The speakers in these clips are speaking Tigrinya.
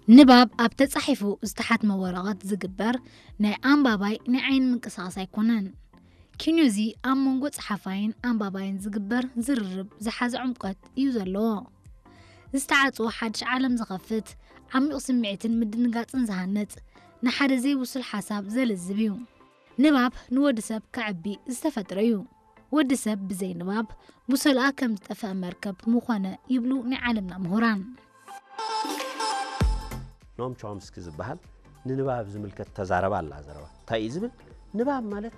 ንባብ ኣብ ተጻሒፉ ዝተሓትመ ወረቐት ዝግበር ናይ ኣንባባይ ናይ ዓይኒ ምንቅስቓስ ኣይኮነን። ኪኖዚ ኣብ መንጎ ጸሓፋይን ኣንባባይን ዝግበር ዝርርብ ዝሓዘ ዕምቆት እዩ ዘለዎ። ዝተዓጽወ ሓድሽ ዓለም ዝኸፍት፣ ዓሚቕ ስምዒትን ምድንጋጽን ዝሃንጽ፣ ንሓደ ዘይብሱል ሓሳብ ዘልዝብ እዩ። ንባብ ንወዲ ሰብ ከዕቢ ዝተፈጥረ እዩ። ወዲ ሰብ ብዘይ ንባብ ብሰልኣ ከም ዝጠፍአ መርከብ ምኾነ ይብሉ ናይ ዓለምና ምሁራን። ኖም ቾምስኪ ዝበሃል ንንባብ ዝምልከት ተዛረባ ኣላ ዘረባ። እንታይ እዩ ዝብል? ንባብ ማለት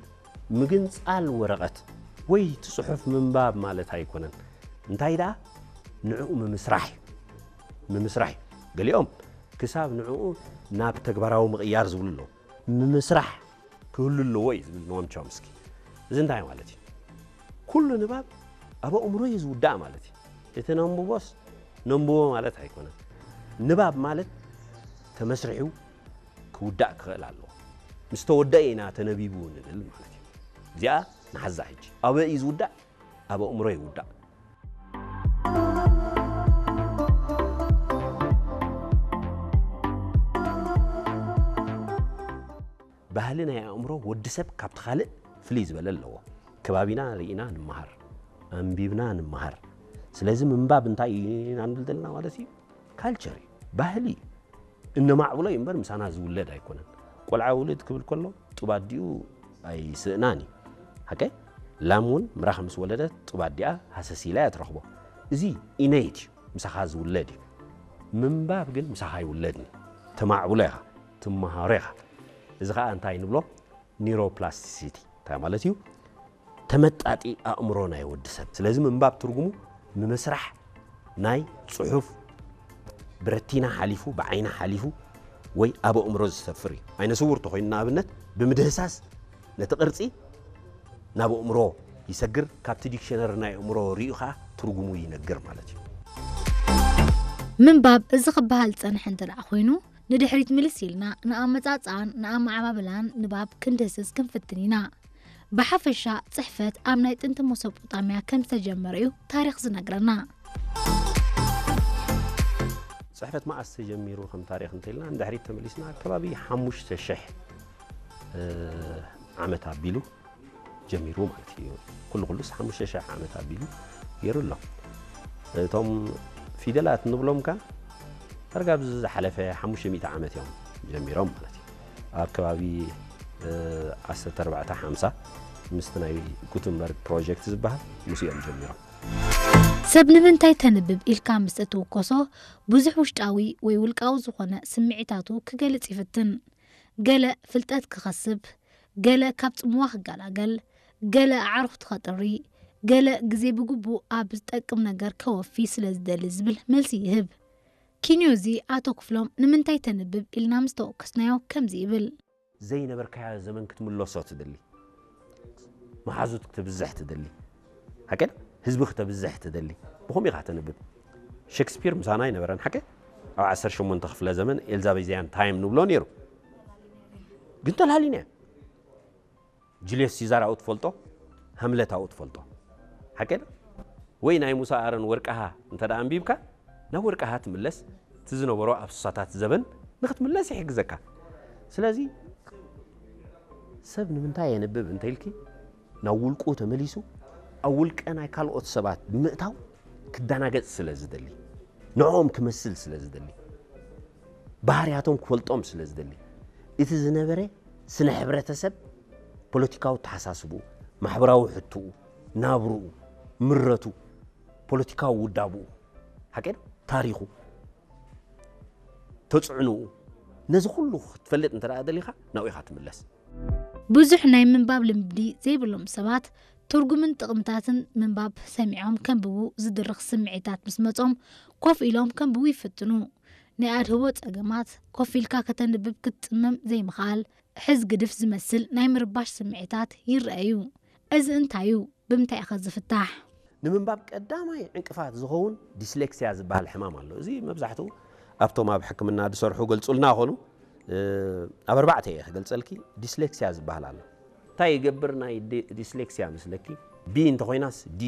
ምግንጻል ወረቐት ወይ እቲ ጽሑፍ ምንባብ ማለት ኣይኮነን። እንታይ ደኣ ንዕኡ ምምስራሕ እዩ። ምምስራሕ እዩ። ገሊኦም ክሳብ ንዕኡ ናብ ተግባራዊ ምቕያር ዝብሉ ኣለዉ። ምምስራሕ ክህሉ ኣለዎ እዩ ዝብል ኖም ቾምስኪ። እዚ እንታይ ማለት እዩ? ኩሉ ንባብ ኣብ ኣእምሮ እዩ ዝውዳእ ማለት እዩ። እቲ ነንብቦስ ነንብቦ ማለት ኣይኮነን። ንባብ ማለት ተመስሪሑ ክውዳእ ክኽእል ኣለዎ። ምስ ተወደአ ኢና ተነቢቡ ንብል ማለት እዩ። እዚኣ ንሓዛ ሕጂ። ኣበይ እዩ ዝውዳእ? ኣብ ኣእምሮ ይውዳእ። ባህሊ ናይ ኣእምሮ ወዲ ሰብ ካብቲ ካልእ ፍልይ ዝበለ ኣለዎ። ከባቢና ርኢና ንመሃር፣ ኣንቢብና ንመሃር። ስለዚ ምንባብ እንታይ ኢና ንብል ዘለና ማለት እዩ? ካልቸር እዩ፣ ባህሊ እዩ። እነማዕብሎ እዩ እምበር ምሳና ዝውለድ ኣይኮነን። ቆልዓ ውልድ ክብል ከሎ ጡብ ኣዲኡ ኣይስእናን እዩ። ሓቀይ? ላም እውን ምራኽ ምስ ወለደት ጡብ ኣዲኣ ሃሰስ ኢላ እያ ትረኽቦ። እዚ ኢነይት እዩ፣ ምሳኻ ዝውለድ እዩ። ምንባብ ግን ምሳኻ ኣይውለድን እዩ። ተማዕብሎ ኢኻ፣ ትመሃሮ ኢኻ። እዚ ኸኣ እንታይ ንብሎ? ኒውሮፕላስቲሲቲ እንታይ ማለት እዩ? ተመጣጢ ኣእምሮ ናይ ወዲ ሰብ። ስለዚ ምንባብ ትርጉሙ ምምስራሕ ናይ ጽሑፍ ብረቲና ሓሊፉ፣ ብዓይኒ ሓሊፉ ወይ ኣብ ኣእምሮ ዝሰፍር እዩ። ዓይነ ስውር ተኾይኑ ንኣብነት ብምድህሳስ ነቲ ቅርጺ ናብ ኣእምሮ ይሰግር፣ ካብቲ ዲክሸነሪ ናይ ኣእምሮ ሪኡ ኸኣ ትርጉሙ ይነግር ማለት እዩ። ምንባብ እዚ ክበሃል ዝጸንሐ እንተ ደኣ ኮይኑ፣ ንድሕሪት ምልስ ኢልና ንኣመጻጽኣን ንኣመዓባብላን ንባብ ክንድህስስ ክንፍትን ኢና። ብሓፈሻ ጽሕፈት ኣብ ናይ ጥንቲ መሶጶጣምያ ከም ዝተጀመረ እዩ ታሪኽ ዝነግረና። ጽሕፈት መኣስ ተጀሚሩ ከም ታሪኽ እንተኢልና ንድሕሪት ተመሊስና ኣከባቢ ሓሙሽተ ሽሕ ዓመት ኣቢሉ ጀሚሩ ማለት እዩ። ኩሉ ኩሉስ ሓሙሽተ ሽሕ ዓመት ኣቢሉ ገይሩ ኣሎ። እቶም ፊደላት ንብሎም ከ ዳርጋ ኣብዚ ዝሓለፈ ሓሙሽተ ሚእቲ ዓመት እዮም ጀሚሮም ማለት እዩ። ኣብ ከባቢ ዓሰርተ ኣርባዕተ ሓምሳ ምስቲ ናይ ጉተንበርግ ፕሮጀክት ዝበሃል ምስ እዮም ጀሚሮም። ሰብ ንምንታይ ተንብብ ኢልካ ምስ እትውከሶ ብዙሕ ውሽጣዊ ወይ ውልቃዊ ዝኾነ ስምዒታቱ ክገልጽ ይፍትን። ገለ ፍልጠት ክኸስብ፣ ገለ ካብ ጽምዋ ክገላገል፣ ገለ ኣዕሩኽቱ ከጥሪ፣ ገለ ግዜ ብግቡእ ኣብ ዝጠቅም ነገር ከወፊ ስለ ዝደሊ ዝብል መልሲ ይህብ። ኪንዮዚ ኣቶ ክፍሎም ንምንታይ ተንብብ ኢልና ምስ ተወከስናዮ ከምዚ ይብል። ዘይነበርካዮ ዘመን ክትምለሶ ትደሊ፣ መሓዙት ክትብዝሕ ትደሊ፣ ሓቀ ህዝቢ ክተብዝሕ ትደሊ፣ ብኸምኡ ኢኻ ተንብብ። ሸክስፒር ምሳና ኣይነበረን ሓቀ ኣብ ዓሰርተ ሸሞንተ ክፍለ ዘመን ኤልዛቤዚያን ታይም ንብሎ ነይሩ፣ ግን ተላሊና ጁልዮስ ሲዛር ኣብኡ ትፈልጦ፣ ሃምለት ኣብኡ ትፈልጦ። ሓቀ ዶ? ወይ ናይ ሙሳ ኣረን ወርቅሃ እንተ ደኣ ኣንቢብካ፣ ናብ ወርቅሃ ትምለስ፣ እቲ ዝነበሮ ኣብ ስሳታት ዘበን ንኽትምለስ ይሕግዘካ። ስለዚ ሰብ ንምንታይ የንብብ እንተ ኢልኪ፣ ናብ ውልቁ ተመሊሱ ኣብ ውልቀ ናይ ካልኦት ሰባት ብምእታው ክደናገጽ ስለ ዝደሊ፣ ንዕኦም ክመስል ስለ ዝደሊ፣ ባህርያቶም ክፈልጦም ስለ ዝደሊ፣ እቲ ዝነበረ ስነ ሕብረተሰብ፣ ፖለቲካዊ ኣተሓሳስብኡ፣ ማሕበራዊ ሕትኡ፣ ናብርኡ፣ ምረቱ፣ ፖለቲካዊ ውዳብኡ፣ ሓቀ ዶ? ታሪኹ፣ ተፅዕንኡ፣ ነዚ ኩሉ ክትፈልጥ እንተ ደኣ ደሊኻ ናብኡ ኢኻ ትምለስ። ብዙሕ ናይ ምንባብ ልምዲ ዘይብሎም ሰባት ትርጉምን ጥቕምታትን ምንባብ ሰሚዖም ከንብቡ ዝድርኽ ስምዒታት ምስ መጾም ኮፍ ኢሎም ከንብቡ ይፍትኑ። ናይ ኣድህቦ ጸገማት፣ ኮፍ ኢልካ ከተንብብ ክትጽመም ዘይምኽኣል፣ ሕዝ ግድፍ ዝመስል ናይ ምርባሽ ስምዒታት ይረኣዩ። እዚ እንታይ እዩ? ብምንታይ ኢኸ ዝፍታሕ? ንምንባብ ቀዳማይ ዕንቅፋት ዝኸውን ዲስሌክሲያ ዝበሃል ሕማም ኣሎ። እዚ መብዛሕትኡ ኣብቶም ኣብ ሕክምና ዝሰርሑ ገልጹልና ኾኑ፣ ኣብ ኣርባዕተ እየ ክገልጸልኪ። ዲስሌክሲያ ዝበሃል ኣሎ። እንታይ ይገብር ናይ ዲ- ዲስሌክሲያ መስለኪ? ቢ እንተኾይናስ ዲ